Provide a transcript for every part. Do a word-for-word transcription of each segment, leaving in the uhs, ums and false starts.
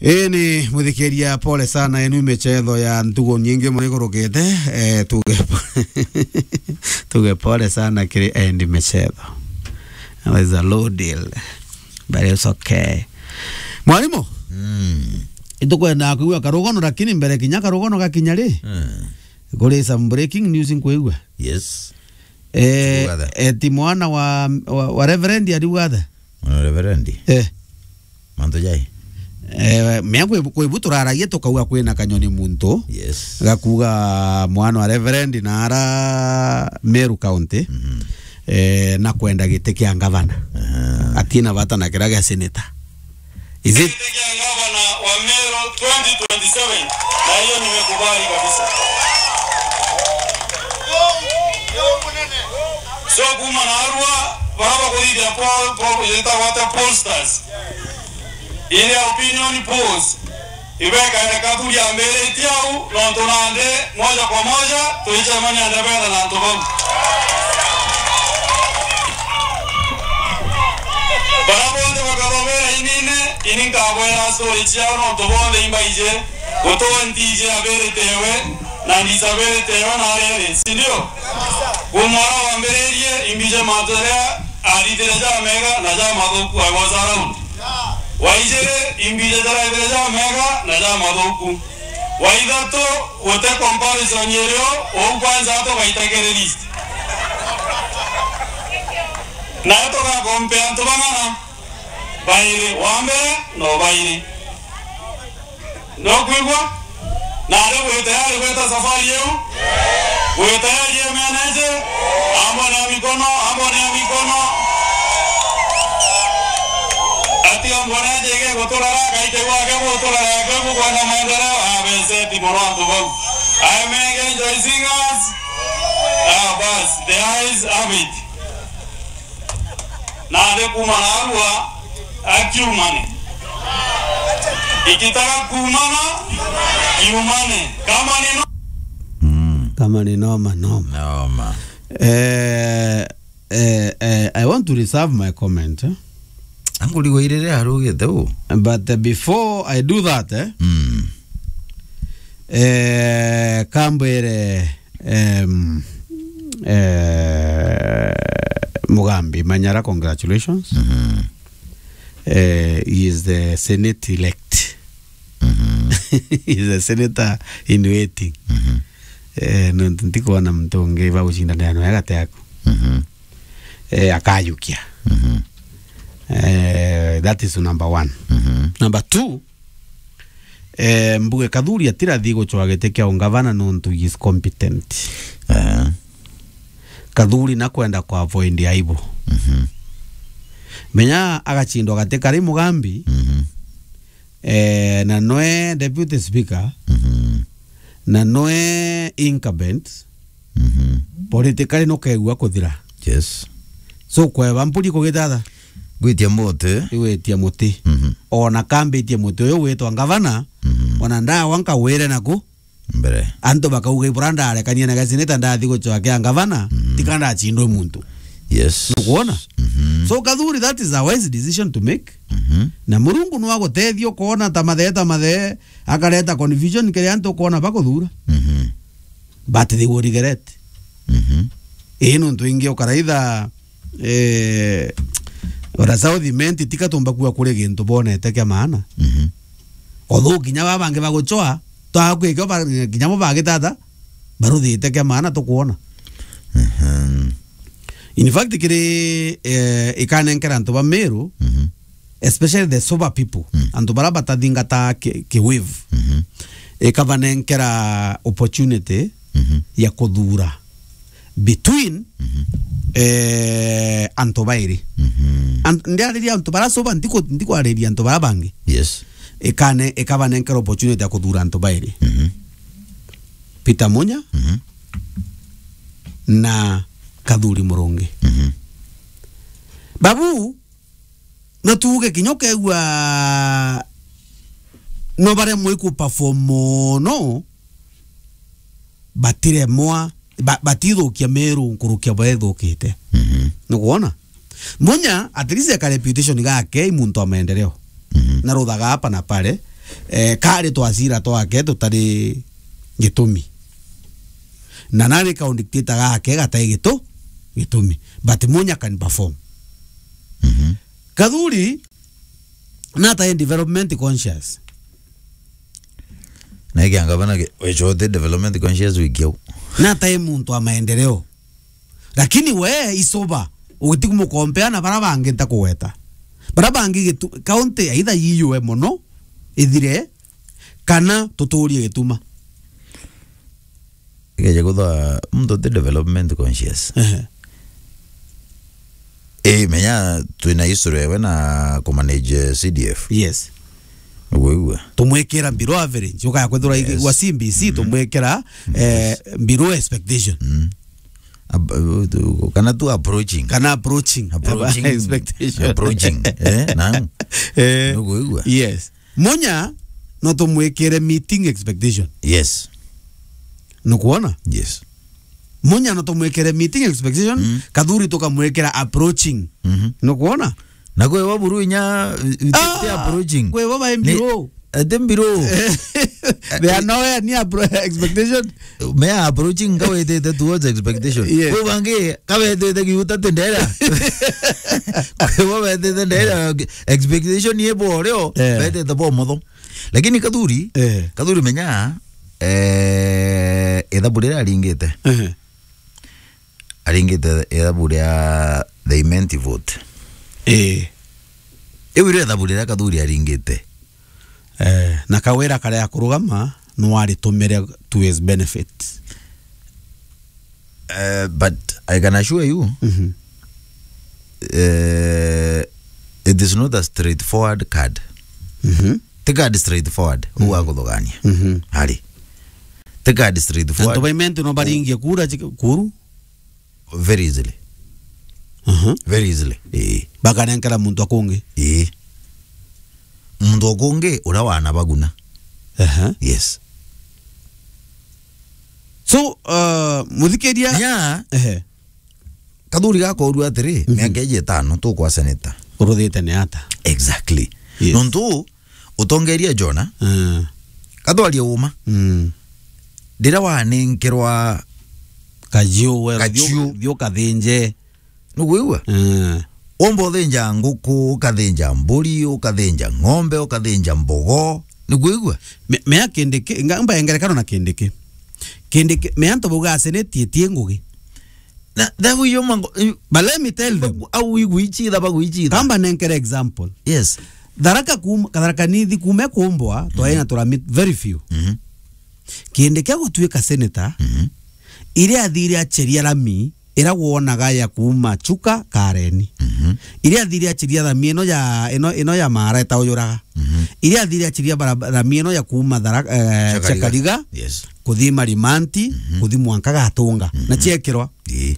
Ii ni muthikiria, pole sana, enu michetho ya ntugo nyingi mono ikurukite, eh, tuge po-, tuge pole sana kiri endi michetho. That is a low deal. But it's okay. Mwarimu, mm, itukwenda kwigua karugono, lakini mbere kinya karugono gakinya ri, mm, kuri some breaking news nkwigua. Yes. Eh, Tugathe. Eti mwana wa, wa, wa Reverend ariuga athe? Mwana wa Reverend? Eh. Mantu jai? Eh, mea kwi, kwi bu turaragia tukauga kwina kanyoni muntu. Yes. Gakuga mwana wa Reverend na ara Meru County. Mhm. Eh, na kwenda giti kia ngavana. Aha. Atina bata na kira gia senator. Is it? Kiti kia gavana wa Meru twenty twenty-seven, na hiyo nimekubali kabisa. So, kuma narua, bara bakuthithia poll, poll, yetagwa ata, pollsters. Ile opinion polls, ibekaene Kathuri ambiritie au, nontu nandi moja kwa moja, twicemania ndebena na antu bau. Bara bonthe bakathomera inine, ini nkabwera story ciao, nontu bonthe imbaije, gutoa ntije abiritewe, na ndisabiritewe na riri, si ndio? Kumwara wambiririe, imbije mantu jaria arithire jamega na jamathuku, I was around. Waijiri, imbije jaraithire jamega na jamathuku. Wa ithatu, gute comparison irio, uu kwanza atugaite kiri list. Nayo tugakompea antu bang'ana? Bairi, wa mbere, no bairi. Nokwigua? Nari bwi tayari gwita safari iu? Bwi tayari emeneje? Ambone ya mikono, ambone ya mikono. Atiga mbone aje ige guturara, gaite gwake guturara, yake gukwenda maendeleo. Ah, beseti mono antu bau. Aemege Joy Singers. Ah, bas, the eyes have it. Nandi kuma narua, akiumane. Ikitaka kuumana, kiumane. Kama ni no- Mm. Kama ni noma, noma. Noma. Eh, eh, eh, I want to reserve my comment, eh? Angu rigo irire arugite u. But, uh, before I do that, eh? Mm. Eh, kambwire, em, eh, Mugambi Manyara, congratulations. Mhm. Eh, he is the Senate elect. Mhm. He is the senator in waiting. Mhm. Eh, nontu ntikwona muntu ungi bagucindanira nawe gati yaku. Mhm. Eh, akajukia. Mhm. Eh, that is number one. Mhm. Number two, eh, mbuge Kathuri atirathi gucwa giti kia ungavana nontu he is competent. Eh. Kathuri nakwenda ku avoid aibu. Mhm. Menya agacindwa gati kari Mugambi, mhm, eh, na nwe deputy speaker, mhm, na nwe incumbent, mhm, politically nukegua kuthira. Yes. So, kweba mpuri kugithatha? Gwitia muti. Igwitia muti. Mhm. Ona kambitie muti uyu witwa ngavana, mhm, ona ndawa nkawire naku. Mbere. Antu bakauga, "Ibura ndarekania na gacineta ndathi gucwa kia ngavana, mhm, tika ndacindwe muntu." Yes. Nukwona? Mhm. So, Kathuri, that is a wise decision to make. Mhm. Na Murungu no agutethia ukona ta mathe, ta mathe, akareta confusion kiri antu ukona bakuthura. Mhm. But they will regret. Mhm. Ii, nontu ingi ukaraitha, eh, ora South Imenti tika tumba kuga kuri gintu bonete kia maana. Mhm. Although kinya baba bangi bagucwa, twakwikio ba-, kinya bo bagitata, baruthite kia maana tukwona. Mhm. In fact, kiri, eh, ikanenkera antu ba Meru, mhm, especially the sober people, mm, antu bara batathingata ki, ki wave, mhm, ikabanenkera opportunity, mhm, ya kuthura between, mhm, eh, antu bairi. Mhm. An-, ndiariria antu bara sober, ntiku-, ntikwariria antu bara bangi. Yes. Ikane-, ikabanenkera opportunity ya kuthura antu bairi. Mhm. Peter Munya, mhm, na Kathuri Murungi. Mhm. Babu, no tuuge kinya ukegua no baremwe iku perform mono, batiremwa, ba-, batithukia Meru nkurukia baria ithukite. Mhm. Nukwona? Munya, at least eka reputation gake i muntu wa maendeleo. Mhm. Na ruthaga hapa na pale, eh, kari twacira twake tutari gitumi. Na nari kaundictator gake gatai gitu-, gitumi. But Munya can perform. Mhm. Kathuri, natae development conscious. Na ikia ngavana ke-, wechote development conscious wiki au. Natae muntu wa maendeleo. Lakini we isoba, ugitikumukompea na bara bangi ntakugweta. Bara bangi gitu-, county either yiyue mono, ithire, kana tuturie gituma. Ikeja kutha muntu ti development conscious. Ehe. Eh, menya twina history ewe na kumanage C D F. Yes. Uguo igua. Tumwikira below average. Ukaya kwithirwa igi-, Yes. wa C B C, Mhm. tumwikira, eh, below expectation. Mm. Ab-, uh, tu-, kana tu approaching. Kana approaching. Approaching. Expectation. Approaching. Eh, na? Eh, Nukuigua? Yes. Munya no tumwikire meeting expectation. Yes. Nukuona? Yes. Munya no tumwikire meeting expectation, Mm. Kathuri tukamwikira approaching. Mhm. Nukuona? Na kwi bo buru inya, uh, Ah, ti approaching. Kwi bo bai Ni-, below. Ati below. They are nowhere near appro-, expectation. Me are approaching kawetete towards expectation. Yes. Kwi bangi kawetete giuta ti ndera. Kwi bo betete ndera, expectation ye bo reo, Eh. betete bo motho. Lakini Kathuri, Eh. Kathuri menya, eh, ithabu riria aringite. Ehe. Aringite ithabu ria the immense vote. Eh. Iu irio ithabu riria Kathuri aringite. Eh, na Kawira karia kurugama, no aritumire to his benefit. Eh, but I can assure you, Mhm. eh, it is not a straightforward card. Mhm. Ti card straightforward, Mhm. uga kuthugania. Mhm. Hari. Ti card straightforward. Antu ba immense no baringie kura chik-, kuru? Very easily. Mhm. Very easily. Ii. Bakanenkera muntu akungi. Ii. Muntu akungi uria wana baguna. Aha. Yes. So, uh, muthikiria. Ya. Ehe. Kathuri gakorua atiri, Mhm. miaka iji itano tukwa senator. Uruthite ni ata? Exactly. Yes. Nontu utongeria Jona, Mm. katwarie uma. Mm. Riria wanenkerwa Kajiu, we, Kajiu. Thiu, thiu kathinje. Nukwigua? Mm. Womba uthinja nguku, ukathinja mburi, ukathinja ng'ombe, ukathinja mbogo. Nukwigua? Me-, mea Kindiki, nga-, mba ngerekano na Kindiki. Kindiki, mea antu bauga seneti itie ngugi. Na, that way you mango, you But let me tell them. Au igwichitha, bagwichitha. Kamba nenkere example. Yes. Tharaka kum-, Tharaka Nithi kume kumbwa, twaina Mhm. turamit very few. Mhm. Kindi kia gutuika senator, Mhm. iria athire acheria rami, ira wonaga ya kuuma Chuka Kareni. Mhm. Iria athire acheria rami ino ya, ino, ino ya Mara itaujuraga. Mhm. Iria athire acheria bara-, rami ino ya kuuma Thara-, eh, Chakariga. Chakariga, Yes. kuthi Marimanti, Mhm. kuthi mwanka Gatunga. Mhm. Na ciekirwa. Ii.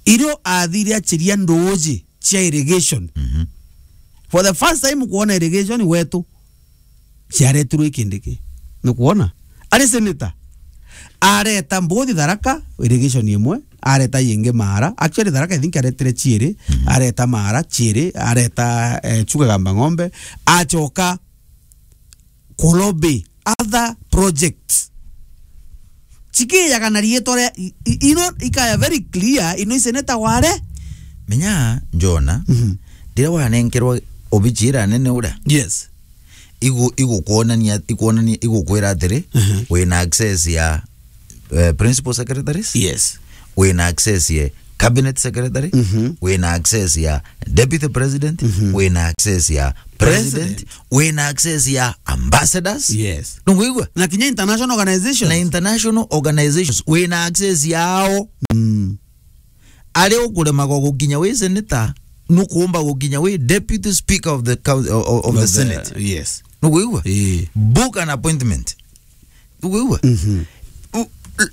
Irio athire acheria nduji cia irrigation. Mhm. For the first time kuona irrigation wetu ciaretirwe i Kindiki. Nukwona? Ari senator. Areta mbuthi Tharaka, irrigation imwe, areta yingi Mara. Actually, Tharaka, I think, aretire ciiri, Mhm. areta Mara, ciiri, areta, eh, Chuka Gamba Ng'ombe, acoka kulobi other projects. Chikijaga na riitwa ria, i-, i-, ino ikaya very clear, ino i senator ware. Menya, Jona, Mhm. riria wanenkerwa obichi iria nene uria, Yes. igu-, igukwonania, ikwonania, igukwira atiri, Mhm. wina access ya, eh, principal secretaries? Yes. Wina access ya cabinet secretary? Mhm. Wina access ya deputy president? Mhm. Wina access ya president? President. Wina access ya ambassadors? Yes. Nungwigua? Na kinya international organizations. Na international organizations. Wina access yao. Mm. Ari ukuremagwa gukinya wi senator, nukuumba gukinya wi deputy speaker of the coun-, of, of the Of the, Senate. Yes. Nukwigua? Ii. Book an appointment. Nukwigua? Mhm. U-,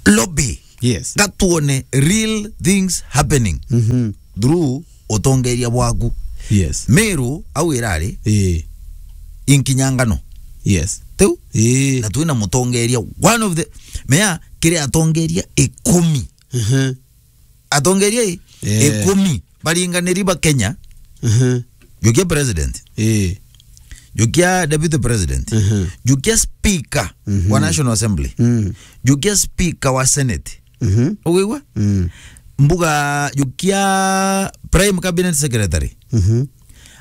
lobby. Yes. Gatuone real things happening Mhm. through utongeria bwaku. Yes. Meru au irari Ii. inkinyangano. Yes. Tiu? Ii. Na twina mutongeria, one of the, mea, kiri atongeria ikumi. Mhm. Atongeria i, Eh. ikumi baringaniri ba Kenya. Mhm. Jukia president. Eh. Jukia deputy president. Mhm. Jukia speaker wa Mhm. National Assembly. Mm. Jukia speaker wa Senate. Mhm. Uguigua? Mm. Mbuga jukia prime cabinet secretary. Mhm.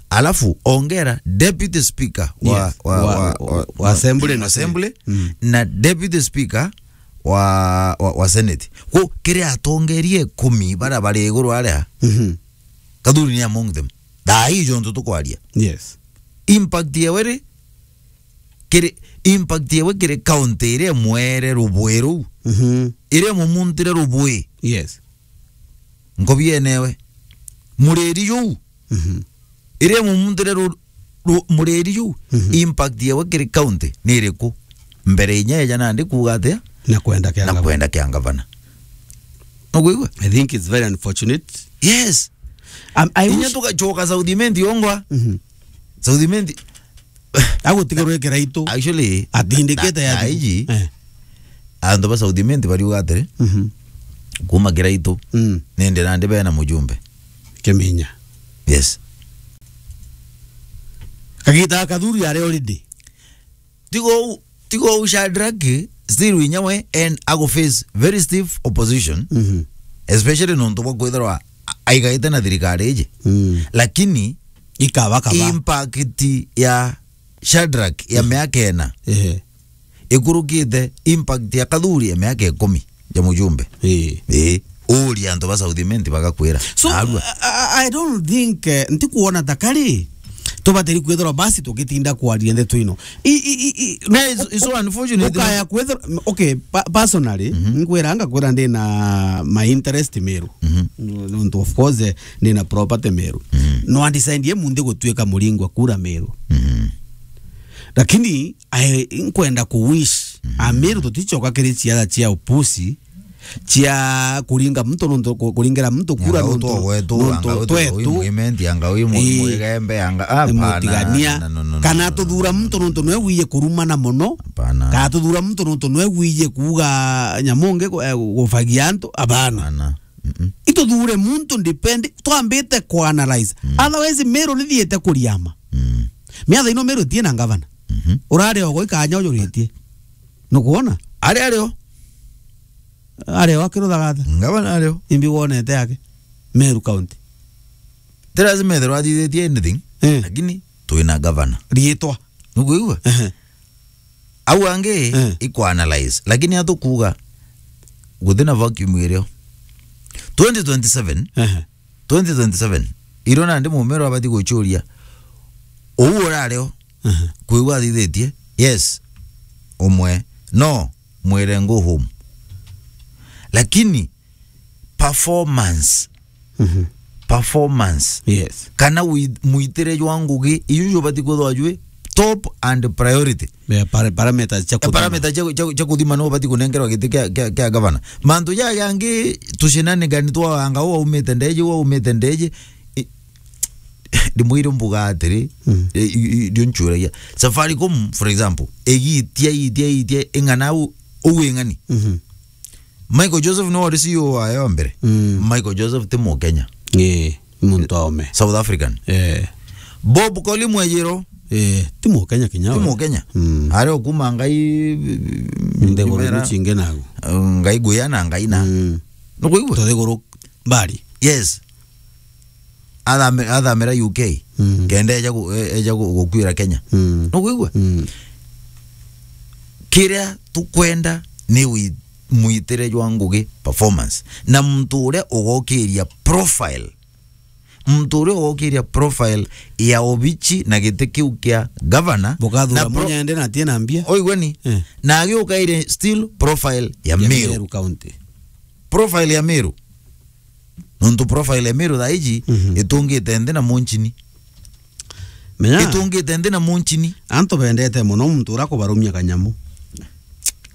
Alafu ongera deputy speaker wa, Yes. wa, Wa, wa, wa, wa wa assembly na assembly Senate. Mm. na deputy speaker wa, wa, wa Senate. Ku kiri atongeria ikumi bara bari iguru aria, Mhm. Kathuri ni among them. Thaa ii jontu tukwaria. Yes. Impact yewe ri, kiri, impact yewe kiri county iria imwere rubui ruu. Mhm. Iria imumuntire rubui. Yes. Nkobi yenewe. Muriri juu. Mhm. Iria imumuntire ru-, ru-, muriri juu. Mhm. Impact yewe kiri county ni iriku? Mbere inya eja nandi kuuga atia? Na kwenda kia Na ngavana. kwenda kia ngavana. Nukwigua? I think it's very unfortunate. Yes. Um, I Inya wish tugacoka South Imenti ongwa. Mhm. South Imenti. Agutigarwe Kiraitu. Actually, Atindikite na, ya na iji, Eh. antu ba South Imenti bariuga atiri, Mhm. kuma Kiraitu, Mm. nindi nandi bena mujumbe. Kiminya. Yes. Kagita Kathuri ari already. Tigo u-, tigo u Shadrack, still inyawe, and ago face very stiff opposition, Mhm. especially nontu bwa kwithirwa a-, aigaite na thirikari iji. Mm. Lakini Ikaba kaba. impact ya Shadrack ya Mhm. miaka ena Ehe. ikurukite impact ya Kathuri ya miaka ikumi ya mujumbe. Ii. Ii. Uria antu ba South Imenti bagakwira. So, Narua. I, I, I don't think, eh, ntikuona ta kari tubatiri kwithirwa basi tugitinda kwaria ndeto ino. I, i, i, i, No, it's, it's so unfortunate, ukaya no? kwithirwa, okay, pa-, personally, Mhm. nkwira, ngakwira ndina my interest Meru. Mhm. Nontu, of course, eh, ndina property Meru. Mhm. No I decide ye munthi gutuika muringwa kura Meru. Mhm. Lakini, I, nkwenda ku wish, Mhm. Ameru tutichoka kiri ciatha cia upusi, cia kuringa muntu nontu, ku-, kuringira muntu kura Nyanga nontu, utogwetu, nontu anga utu twetu. Uyu mwimenti, anga uyu mu-, Ii. Mwigembe, anga, ah, hapana, Mutigania. No, no, no, no, Kana no, no, tuthura no, muntu no, nontu no. Nwe wiye kuruma na mono. Hapana. Kana tuthura muntu nontu nwe wiye kuuga nyamu ngi gu-, eh, gufagia antu. Hapana. Hapana. Mm-mm. Ituthure muntu depend, twambite ku analyze. Mm. Otherwise, Meru nithiite kuriama. Mm. Miatha ino Meru itie na ngavana. Mhm. Urari ogo ikanya ujuritie. Nukwona? Ari ario. Ari o akiruthagatha. Ngavana ario. Imbi wonete yake. Meru County. Ti lazima ethirwa athithitie anything, Eh. lakini twina ngavana. Riitwa. Nukwigua? Ehe. Au angi Eh. ikwa analyze. Lakini atukuga guthi na vacuum irio. Twenty twenty-seven, Ehe. twenty twenty-seven, iro nandi mumero abati guchuria. Uu urario, Ehe. kwigua athithitie. Yes. Umwe. No, mwire go home. Lakini performance. Mhm. Performance. Yes. Kana wi-, mwitire jwa ngugi, iu jubati kwithwa jwi top and priority. Yeah, para-, parameters cia Eh, kuthima. Parameter cia, cia, cia kuthima no ubati kunengerwa giti kia, kia, kia gavana. Mantu ja yangi tucinanigani twa anga uu aumite ndeji, uu aumite ndeji. I-, ndimwire mbuga atiri, Mm. i-, i-, i-, ndio nchuragia. Safaricom, for example, igitia, itia, itia, ing'ana u-, uu ing'ani. Mhm. Michael Joseph niwe wari C E O wayo wa mbere. Mm. Michael Joseph ti Mukenya. Ii, muntu aome. South African. Eh. Bob Koli Mwejiro. Eh, ti Mukenya kinya Ti we. Mukenya. Mm. Ari okuma ngai Nthiguru Kimera. Iria cingi nago. Ngai Guya na Ngai na. Mm. Nukwigua? Tuthiguru mbari. Yes. Athame-, athamira U K. Mm. Kenda eja gu-, e-, eja gu-, gukwira Kenya. Mm. Nukwigua? Mm. Kiria tukwenda ni wi-, mwitire jwa ngugi, performance. Na muntu uria ugokiria profile. Muntu uria ugokiria profile ya obichi na giti kiu kia governor. Bukathura na pro-, munyende na atie na mbia. Oigwe ni? Eh. Na agiukaire still profile ya Ya Meru. Meru County. Profile ya Meru. Nontu profile ya Meru thaa iji Mhm. itungite nthi na munchini. Menya, Itungite nthi na munchini. Antu bendete muno muntu uria kubarumia kanyamu.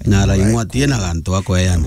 Na araing'wa atie na gantu akweana.